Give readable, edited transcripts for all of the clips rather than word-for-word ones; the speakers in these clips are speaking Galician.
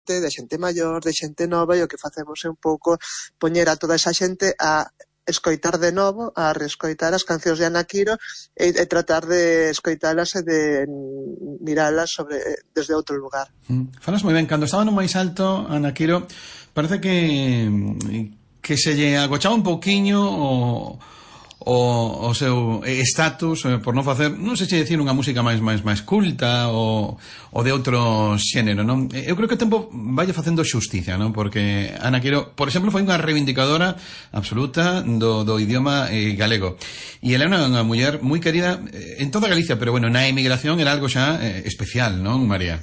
xente, de xente maior, de xente nova, e o que facemos é un pouco poñer a toda esa xente a escoitar de novo, a reescoitar as cancións de Ana Quiro e tratar de escoitalas e de miralas desde outro lugar. Falas moi ben, cando estaba no máis alto, Ana Quiro, parece que se lle agochaba un pouquiño o seu status por non facer, non sei se decir unha música máis culta ou de outro xénero, non? Eu creo que o tempo vai facendo xusticia, non? Porque Ana Quiro, por exemplo, foi unha reivindicadora absoluta do idioma galego. E ela é unha muller moi querida en toda Galicia, pero bueno, na emigración era algo xa especial, non, María?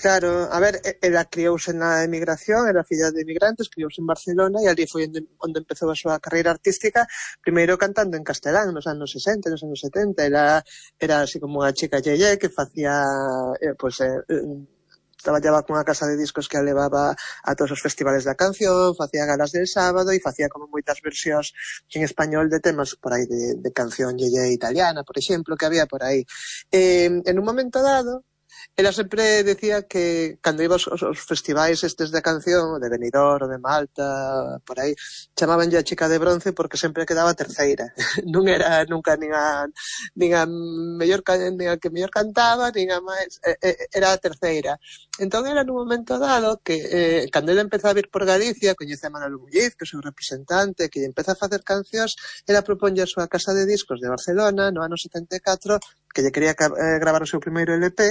Claro, a ver, ela criouse na emigración, era filla de emigrantes, criouse en Barcelona e ali foi onde empezou a súa carreira artística, primeiro cantando en castelán nos anos 60, nos anos 70. Ela era así como unha chica yeye que facía, traballaba cunha casa de discos que a levaba a todos os festivales da canción, facía galas del sábado e facía como moitas versións en español de temas por aí de canción yeye italiana, por exemplo, que había por aí. En un momento dado, ela sempre decía que cando iba aos festivais estes de canción, de Benidorm, de Malta, por aí, chamabanlle a chica de bronce porque sempre quedaba terceira. Non era nunca nin a que mellor cantaba, nin a máis, era a terceira. Entón era nun momento dado que cando ela empeza a vir por Galicia, coñece a Manolo Muñiz, que é o seu representante, que empeza a facer cancións, ela proponlle a súa casa de discos de Barcelona no ano 74, que lle quería gravar o seu primeiro LP,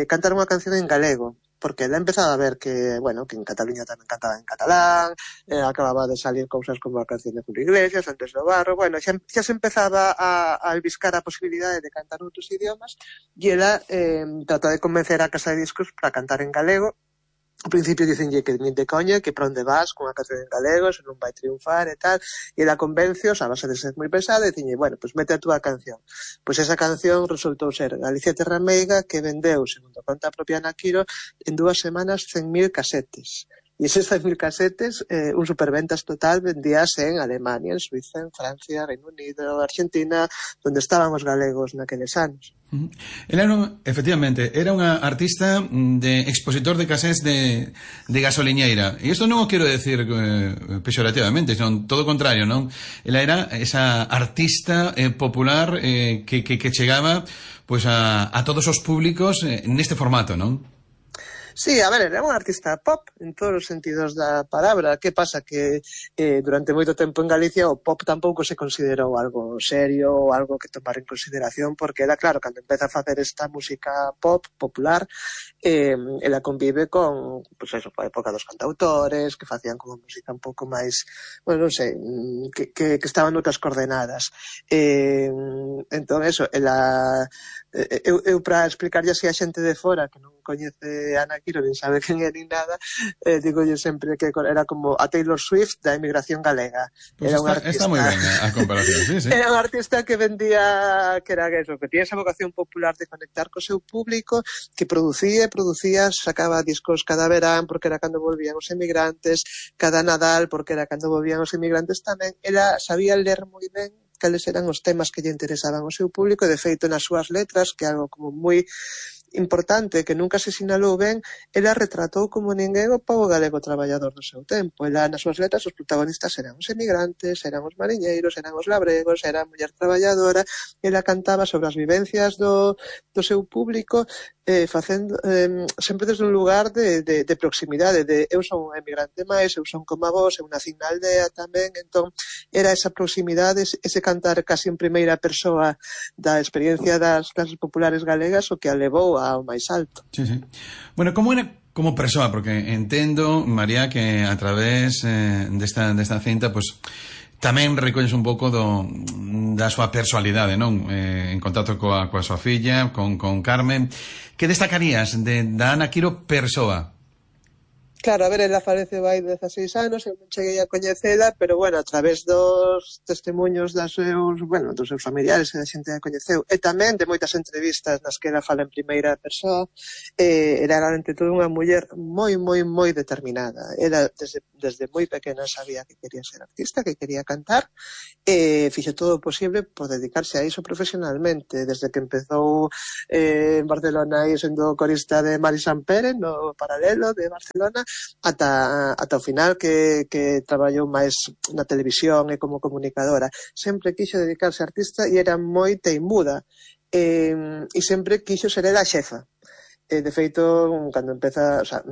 cantar unha canción en galego, porque ela empezaba a ver que, bueno, que en Cataluña tamén cantaba en catalán, acababa de salir cousas como a canción de Julio Iglesias, Antes do Barro, bueno, xa se empezaba a albiscar a posibilidade de cantar outros idiomas, e ela trata de convencer a casa de discos para cantar en galego. Ao principio dicenlle que nin de coña, que para onde vas con a canción en galego, se non vai triunfar e tal, e ela convencios a base de ser moi pesada, e dicenlle, bueno, pues mete a túa canción. Pois esa canción resultou ser Galicia Terra Meiga, que vendeu, segundo conta a propia Ana Quiro, en 2 semanas 100.000 casetes. E eses 100.000 casetes, un superventas total, vendíase en Alemania, en Suiza, en Francia, Reino Unido, Argentina, onde estaban os galegos naqueles anos. Ela efectivamente, era unha artista de expositor de casés de gasoliñeira. E isto non o quero decir peyorativamente, son todo o contrario, non? Ela era esa artista popular que chegaba pois a todos os públicos neste formato, non? Sí, a ver, era un artista pop en todos os sentidos da palabra. Que pasa? Que durante moito tempo en Galicia o pop tampouco se considerou algo serio ou algo que tomar en consideración, porque era claro, cando empeza a facer esta música pop, popular, ela convive con, pues eso, a época dos cantautores, que facían como música un pouco máis, bueno, non sei, que estaban noutras coordenadas. Entón, eso, ela... Eu para explicarlle así a xente de fora que non coñece a Ana Quiro, nin sabe quen é nin nada, digolle sempre que era como a Taylor Swift da emigración galega. Pues está moi ben a comparación, sí. Era un artista que vendía, que era eso, que tiña esa vocación popular de conectar co seu público, que producía, sacaba discos cada verán porque era cando volvían os emigrantes, cada Nadal porque era cando volvían os emigrantes tamén. Ela sabía ler moi ben cales eran os temas que lle interesaban ao seu público, e de feito nas súas letras, que é algo como moi importante, que nunca se sinalou ben, ela retratou como ninguén o pobo galego traballador do seu tempo. Ela, nas súas letras, os protagonistas eran os emigrantes, eran os mariñeiros, eran os labregos, era a muller traballadora. Ela cantaba sobre as vivencias do seu público, facendo sempre desde un lugar de proximidade, de eu son un emigrante máis, eu son como a vos, eu nací na aldea tamén. Entón, era esa proximidade, ese cantar casi en primeira persoa da experiencia das clases populares galegas o que a levou ao máis alto. Sí. Bueno, como era como persoa? Porque entendo, María, que a través desta cinta, pues tamén recolles un pouco da súa personalidade, non? En contacto coa súa filla, con Carmen. Que destacarías da Ana Quiro persoa? Claro, a ver, ela falece vai 16 anos, eu non cheguei a coñecela, pero, bueno, a través dos testemunhos dos seus familiares e da xente que coñeceu, e tamén de moitas entrevistas nas que ela fala en primeira persoa, era, ante todo, unha muller moi determinada. Ela, desde desde moi pequena sabía que quería ser artista, que quería cantar, e fixo todo o posible por dedicarse a iso profesionalmente, desde que empezou en Barcelona aí sendo corista de Mari Sampere no Paralelo de Barcelona ata o final que traballou máis na televisión e como comunicadora. Sempre quixo dedicarse a artista e era moi teimuda, e sempre quixo ser ela a xefa. De feito, cando empeza, o sea,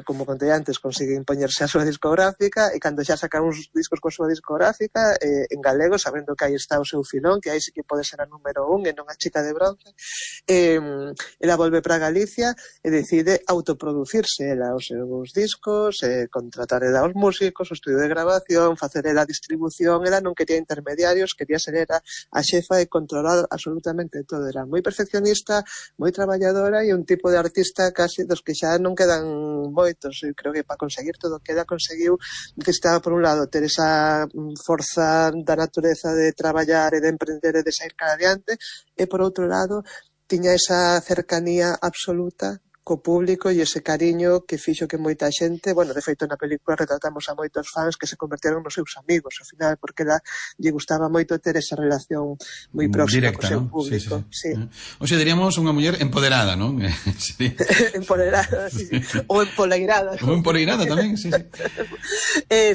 como contei antes, consigue impoñerse a súa discográfica, e cando xa saca uns discos coa súa discográfica en galego, sabendo que aí está o seu filón, que aí sí que pode ser a número 1 e non a chica de bronce, ela volve para Galicia e decide autoproducirse ela os seus discos, contratar ela os músicos, o estudio de grabación, facer ela a distribución. Ela non quería intermediarios, quería ser ela a xefa e controlar absolutamente todo. Era moi perfeccionista, moi traballadora e un tipo de artista casi dos que xa non quedan moitos. Eu creo que para conseguir todo o que ela conseguiu necesitaba, por un lado, ter esa forza da natureza de traballar e de emprender e de sair cara adiante, e por outro lado tiña esa cercanía absoluta co público e ese cariño que fixo que moita xente, bueno, de feito na película retratamos a moitos fans que se converteron nos seus amigos ao final, porque ela lle gustaba moito ter esa relación moi próxima directa, co seu ¿no? público. Sí. O sea, diríamos unha muller empoderada, non? Sí. Empoderada, sí. Ou empoleirada. Ou empoleirada tamén, sí.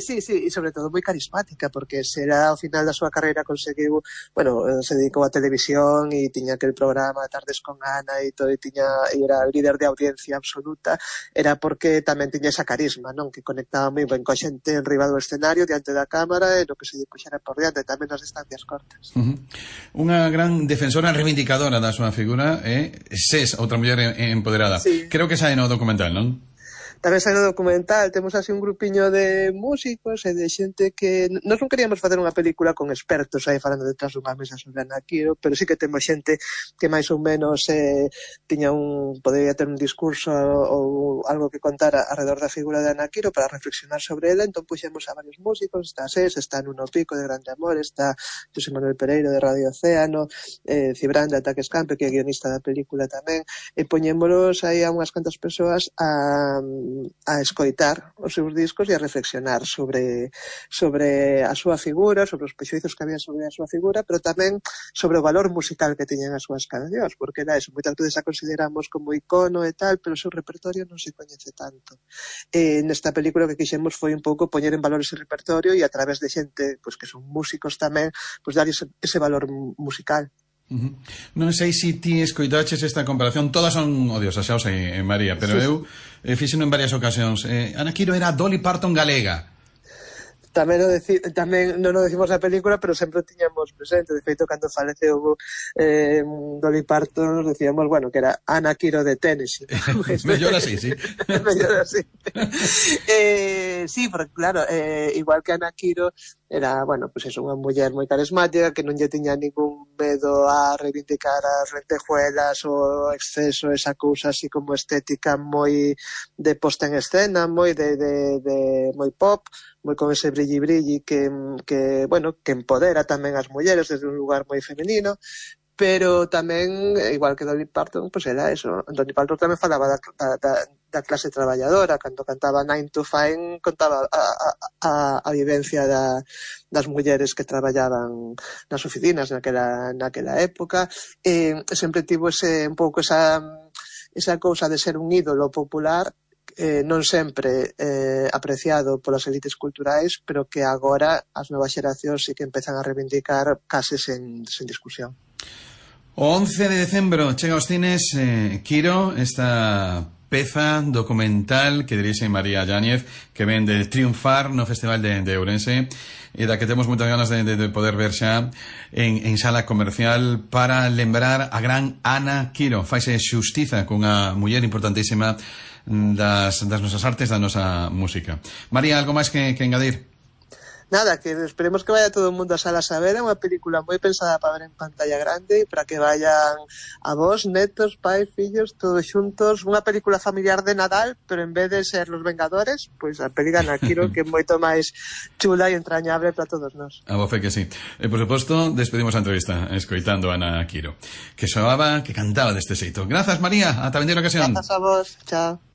Sí, e sobre todo moi carismática, porque será ao final da súa carreira conseguiu, bueno, se dedicou a televisión e tiña aquel programa Tardes con Ana e todo, e era líder de audiencia absoluta, era porque tamén tiña esa carisma, non? Que conectaba moi ben coa xente en riba do escenario, diante da cámara, e no que se puxera por diante, tamén nas distancias cortas. Unha gran defensora reivindicadora da súa figura, ses outra muller empoderada. Sí. Creo que sae no documental, non? Tamén sai no documental, temos así un grupiño de músicos e de xente que... Nós non queríamos facer unha película con expertos aí falando detrás dunha mesa sobre Ana Quiro, pero sí que temos xente que máis ou menos podería ter un discurso ou algo que contar alrededor da figura de Ana Quiro para reflexionar sobre ela. Entón puxemos a varios músicos, está SES, está Nuno Pico de Grande Amor, está José Manuel Pereiro de Radio Océano, Cibrán de Ataques Campe, que é guionista da película tamén, e poñémolos aí a unhas cantas persoas a escoitar os seus discos e a reflexionar sobre a súa figura, sobre os prexuizos que había sobre a súa figura, pero tamén sobre o valor musical que teñen as súas cancións, porque era eso, moitas veces a consideramos como icono e tal, pero o seu repertorio non se coñece tanto. Nesta película que quixemos foi un pouco poñer en valor ese repertorio e a través de xente que son músicos tamén, dar ese valor musical. Non sei se ti escoitaches esta comparación. Todas son odiosas, xa o sei, María, pero eu fixeno en varias ocasións. Ana Quiro era Dolly Parton galega. Tamén non o decimos na película, pero sempre o tiñamos presente. De feito, cando faleceu Dolly Parton, decíamos, bueno, que era Ana Quiro de Tennessee. Mellor así, sí. Mellor así. Sí, porque claro, igual que Ana Quiro era, bueno, pues eso, unha muller moi carismática que non lle tiña ningún medo a reivindicar as lentejuelas, o exceso, esa cousa así como estética moi de posta en escena, moi de moi pop, moi con ese brilli que bueno, que empodera tamén as mulleres desde un lugar moi femenino. Pero tamén, igual que Dolly Parton, pues era eso. Dolly Parton tamén falaba da clase traballadora. Cando cantaba 9 to 5, contaba a vivencia das mulleres que traballaban nas oficinas naquela época. Sempre tivo un pouco esa cousa de ser un ídolo popular, non sempre apreciado polas elites culturais, pero que agora as novas xeracións sí que empezan a reivindicar case sen discusión. O 11 de decembro chega aos cines Quiro, esta peza documental que dirixe María Yáñez, que ven de triunfar no Festival de Ourense e da que temos moitas ganas de poder ver xa en sala comercial para lembrar a gran Ana Quiro. Faise xustiza cunha muller importantísima das nosas artes, da nosa música. María, algo máis que engadir? Nada, que esperemos que vaya todo o mundo a salas a ver. É unha película moi pensada para ver en pantalla grande, para que vayan avós, netos, pais, fillos, todos xuntos. Unha película familiar de Nadal, pero en vez de ser Los Vengadores, pois a peli de Ana Quiro, que é moito máis chula e entrañable para todos nós. A voce que sí. E, por suposto, despedimos a entrevista escoitando a Ana Quiro, que soaba, que cantaba deste xeito. Grazas, María, ata a vindeira ocasión. Grazas a vos, chao.